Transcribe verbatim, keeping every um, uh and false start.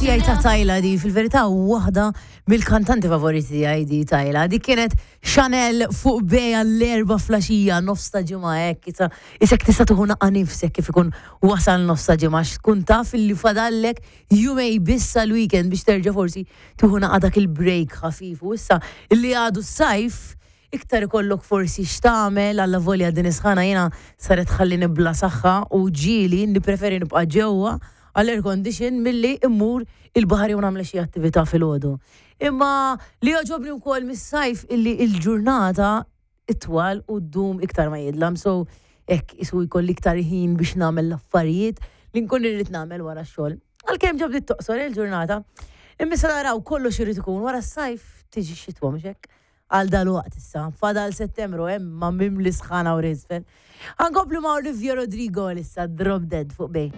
Tiegħi ta' Tyla di, fil-verità waħda mill-kantanti favoriti tiegħi di Tyla. Di kienet Chanel fuq Bay l-Erbgħa filgħaxija, nofs ta' ġimgħa hekk, isa isek tista' tieħu naqra nifsek kif ikun wasal nofs ta' ġimgħa, tkun taf li fadallek jumejn biss l-weekend biex terġa' forsi tieħu naqra dak il-break ħafif. U issa illi għadu s-sajf, iktar ikollok forsi x'tagħmel, alla volja din is-sħana jiena saret ħallini bla saħħa u ġieli nippreferi nibqa' ġewwa għall-air condition milli immur il-baħar jew nagħmel xi attività filgħodu. Imma li jogħġobni wkoll mis-sajf illi il-ġurnata itwal u ddum iktar ma jidlam, so hekk isu jkolli iktar ħin biex nagħmel l-affarijiet li nkun irrid nagħmel wara x-xogħol. Għalkemm ġo bdiet toqsor il-ġurnata, imma sa naraw, kollox irid ikun wara s-sajf tiġi xitwa, mhux hekk? Għal dal-waqt issa, fadal Settembru hemm ma mimli sħana u riżfel. Ħa nkomplu ma' Olivia Rodrigo issa, Drop Dead fuq Bay.